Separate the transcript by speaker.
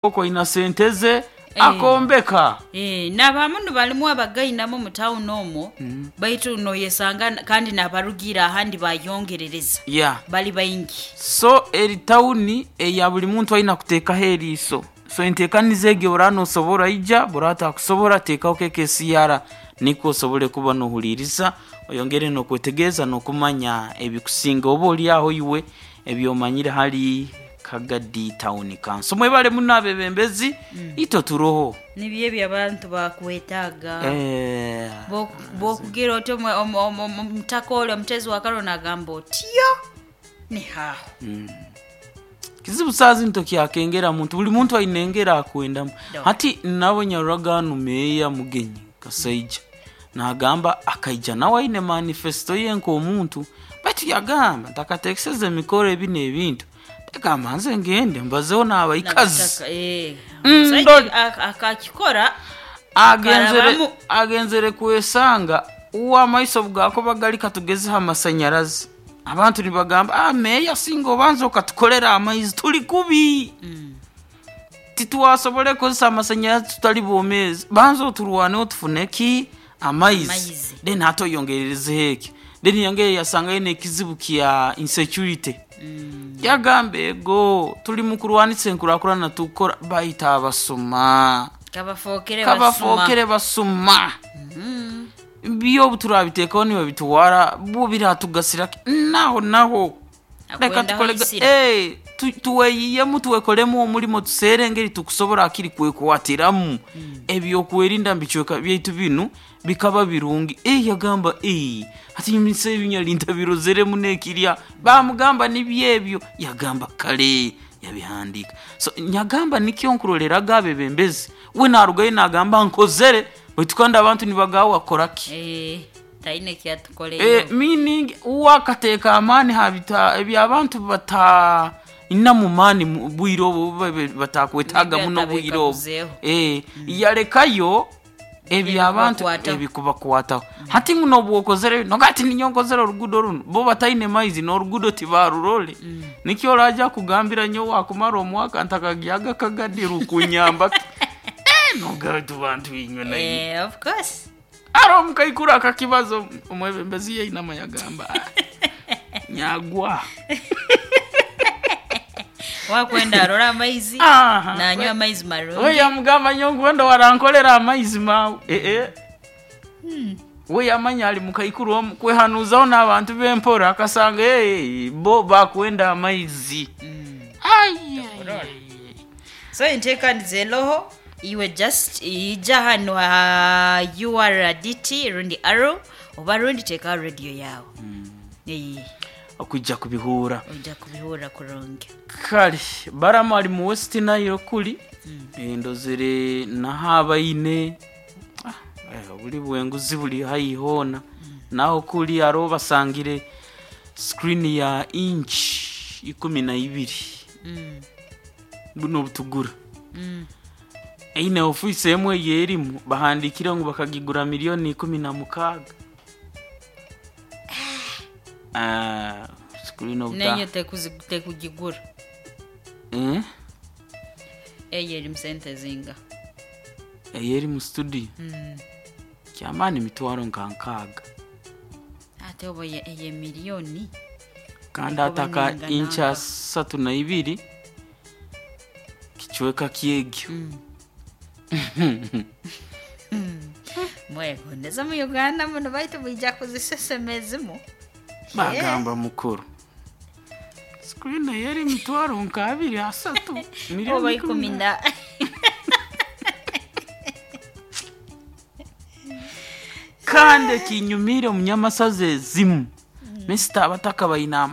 Speaker 1: Okoina sente ze akombeka.
Speaker 2: N'abamu balimu abagainamu mu tawuni omwo, baitu noyesanga kandi n'abarugiire ahandi bayongerereza bali baingi.
Speaker 1: So eri tawuni eya buli muntu aina kuteekaho eriiso. So enteekaniza egi oraba noosobora ija, bw'oraba otakusobora teekaho KKCR nikwo osobole kuba noohuliiriza oyongere n'okwetegereza n'okumanya ebikusinga oba ori aho iwe eby'omanyire hali Kagadi Town Council. Mwebale muno abeebembezi, itwe turoho.
Speaker 2: Nibyo ebyo abantu bakwetaaga. Bwokugira oti omutaka ori omuteezi wa karole nagamba otyo nihaaho.
Speaker 1: Kizibu saaha zinu tokyakengera muntu, buli muntu aine engeri akwendamu. Hati nabo nyaroraga hanu meeya Mugenyi Kasaija naagamba akaija nawe aine manifesto ye nk'omuntu baitu yagamba ntakateekeseze emikoro ebi n'ebintu leka mbanze ngende mbazeho n'abaikazi.
Speaker 2: Omusaija akakikora
Speaker 1: Agenzere agenzere kwesanga uwe amaiso obu gaakuba gari katugezeho amasanyarazi, abantu nibagamba meeya singa obanza okatukorera amaizi turi kubi. Titwasobora kukozesa amasanyarazi tutari boomeezi, banza oturwaneho tufune ki? Amaizi. Then hati oyongererezeho eki. Then yongera yasangayo n'ekizibu kya insecurity. Yagamba ego turi mu kurwanisa enkurakurana tukukora baitu abasuma.
Speaker 2: Kabafookere
Speaker 1: Kabafookere basuma. Byo obu turabiteekaho nibabitwara bo biratugasira ki? Naho naho. Leka tukole tuweyiyemu twekolemu omurimo tuseere engeri tukusobora hakiri kwekwatiramu ebyokwerinda omu bicweka byaitu binu bikaba birungi. Yagamba hati nse ebi ntabirozere muno ekirya. Baamugamba nibyo ebyo, yagamba kare yabihandiika. So nyagamba nikyo nkuroreraga abeebembezi, we naarugayo naagamba nkozere baitu kandi abantu nibagamba wakora ki?
Speaker 2: Taine eki atukoleire.
Speaker 1: Meaning uwe akateeka amaani ha eby'abantu batainamu maani bwire obu batakwetaaga muno bwire obu. Yalekayo eby'abantu ebikubakwataho. Hati ngu n'obu okozere noga ati ninyowe nkozere oruguudo runu, bo bataine maizi n'oruguudo tibaarurore. Nikyo oraaja kugambira nyowe wakumara omwaka ntakagyaga Kagadi rukunyamba ki? Noga bantu inywe nainywe.
Speaker 2: Of course.
Speaker 1: Haroho omukaikuru akakibaza omwebembezi yainama yagamba nyagwa.
Speaker 2: Wakwenda arore amaizi, nanywa amaizi marungi.
Speaker 1: We yamugamba nyowe nkwenda warankolera amaizi maawe. We yamanya ari mukaikuru omu kwehanuuzaho n'abantu b'empora akasanga bo bakwenda amaizi.
Speaker 2: So enteekaniza eroho iwe just ija hanu ha URDT rundi Arrow oba rundi teekaho radio yaawe.
Speaker 1: Okwija kubihuura.
Speaker 2: Oija kubihuura kurungi.
Speaker 1: Kare Balamu ari mu West Nile kuri, ndozere naho abaine oburi bwenguzi buri haihi hoona. Naho kuri hariho basangire screen ya inch 12. Buno obutugura. Eine ofiisi emwe ei erimu bahandiikire ngu bakagigura milioni 16. Screen
Speaker 2: Nenyo tekugigura. Eyo erimu sente zinga?
Speaker 1: Eyo eri mu studio? Kyamaani mitwaro nka 60.
Speaker 2: Ate oba eye milioni?
Speaker 1: Kandi hati aka inch 32 kicweka kyegyo.
Speaker 2: Mwegondeza mu Uganda muno baitu mwija kuzisesema ezimu.
Speaker 1: Bagamba mukuru. Screen eyo eri emitwaro nka 2 3
Speaker 2: milioni oba ikumi na.
Speaker 1: Kandi ekinyumiire omunyamasaza ezimu, Mister abataka baine